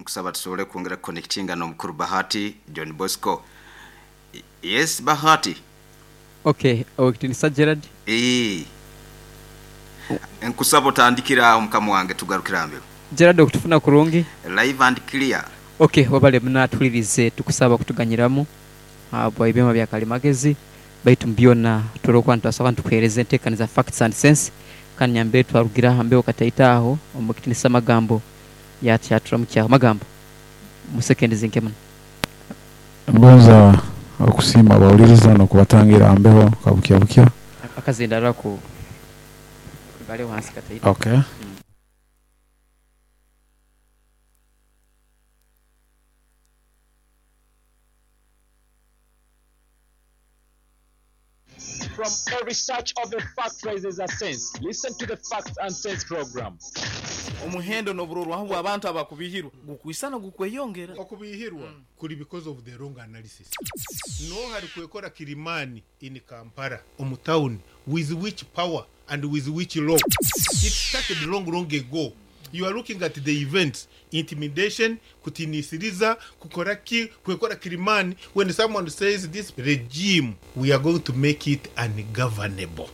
Nkusaba tusobole kwongera kuconnectinga n'omukuru Bahati John Bosco. Yes, Bahati. Okay, Owekitinisa Gerald. Eeh. Nkusaba otandikire aho mukama wange tugarukire aha mbero. Gerald okutufuna kurungi? Live and clear. Ok webale muno atulirize tukusaba okutuganyiramu habwa ebyoma bya kalimagezi baitu mubyona turi okuba nitwasoka nitukuhereza entekaniza facts and sense kandi nyambere twarugira aha mbeho kataito aho omukitinisa Magambo yakyaturamu Magambo mu sekendi zinke muno. Ngonza okusiima abawuliriza n'okubatangira aha mbeho kabukya bukya. Akazindaro ako bale wansi kataito. Okay. From every search of a fact rises a sense. Listen to the Facts and Sense program. Omuhendo n'oburorwaho bw'abantu abakubihirwa gukwisana gukweyongera. Okubihirwa kuri because of the wrong analysis. Noha arikwekora Kilimani in Kampala omu town with which power and with which law? It started long long ago. You are looking at the events, intimidation, kutinisiriza, kukora ki, kwekora Kilimani. When someone says this regime, we are going to make it ungovernable.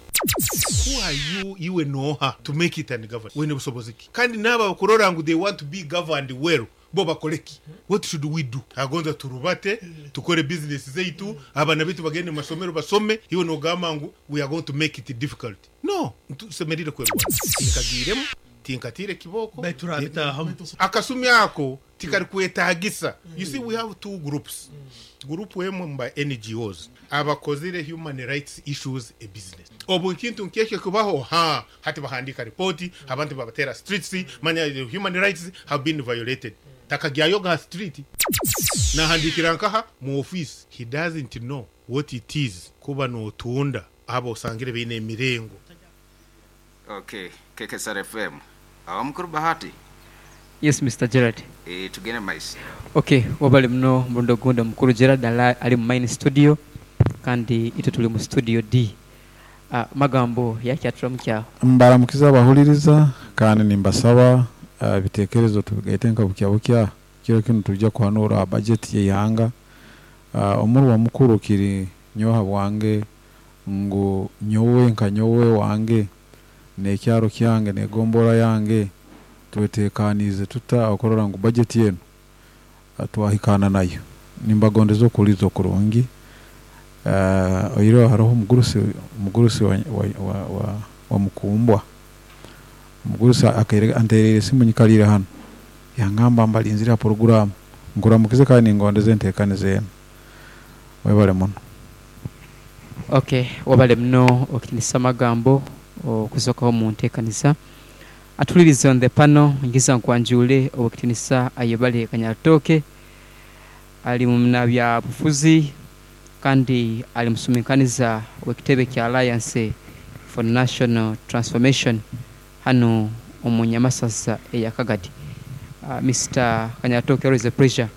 Who are you, iwe noha, to make it ungovernable? Wene busobozi ki? Kandi n'aba bakurora ngu they want to be governed well, bo bakore ki? What should we do? Agonza turubate, tukore business zeitu, abana bitu bagende mu masomero basome, iwe nogamba ngu we are going to make it difficult. No, tusemerire kwerwana. Tinkagiremu, tinkatire kiboko. Baitu turabitahamu. Akasumi ako tikari kwetagisa. You see, we have two groups. Group emwe mba NGOs abakozire human rights issues a business. Obu kintu nkekyo kubaho, ha hati bahandika ripoti, abantu babatera streets, manya the human rights have been violated. Takagyayo ga street nahandikira nkaha mu office. He doesn't know what it is kuba notunda abo osangire beine emirengo. Okay, KKSR FM. Awo mukuru Bahati. Yes, Mr. Gerald. Tugende maiso. Okay, wabale muno murundi ogundi omukuru Gerald ali mu main studio kandi itwe tuli mu studio D. Magambo yakyaturamu kyaho. Mbaramukiza abahuliriza kandi nimbasaba ebitekerezo tubigaite nka bukya bukya kiro kinu tujja kuhanura budget y'eihanga. Omurwa mukuru kiri nyoha bwange ngu nyowe nka nyowe wange n'ekyaro kyange n'egombora yange twetekaniize tuta okurora ngu budget enu twahikaana nayo. Nimbagondeza okuhuliiriza okurungi. Oihireho haroho omugurusi wa Mukumbwa. Omugurusi antereriire esimu nyikaliire hanu yangamba mbalinzire ha puroguramu. Nkuramukize kandi ningondeza entekaniza enu. Webale muno. Okay, wabale muno okitinisa Magambo okusokaho mu ntekaniza. Atulirize on the panel ngiza nkwanjule obukitinisa Ayebale Kanyaritoke ali mu bya bufuzi kandi ali musuminkaniza w'ekitebe kya Alliance for National Transformation hano omu Nyamasaza eya Kagadi. Mr. Kanyaritoke, always a pleasure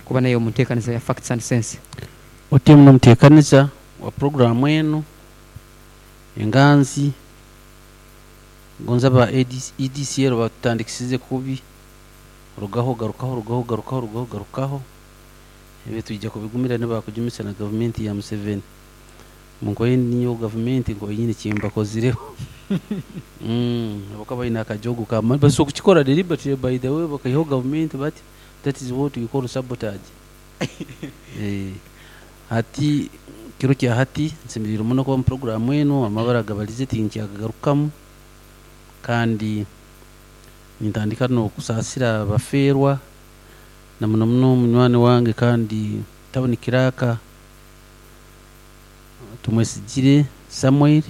kuba naye omu ntekaniza ya Facts and Sense. Otimu n'omutekaniza wa programu enu enganzi gonza ba EDCL batutandikisize kubi rugaho garukaho rugaho garukaho rugaho garukaho ebyo twijja kubigumira nibakujumisa na gavumenti ya Museveni munkoye niyo gavumenti nkoye nyine kyembakozireho. Abakuba balina akajogo ka mani basobola okukikora deliberately by the way bakaihaho gavumenti bati that is what we call sabotage. Hati kiro kya hati nsemerire muno kuba mu programu enu amabara gabalize tinkyagarukamu kandi nintandika n'okusaasira abaferwa na muno muno munywani wange kandi tabuni kiraka Tumwesigire Samuel.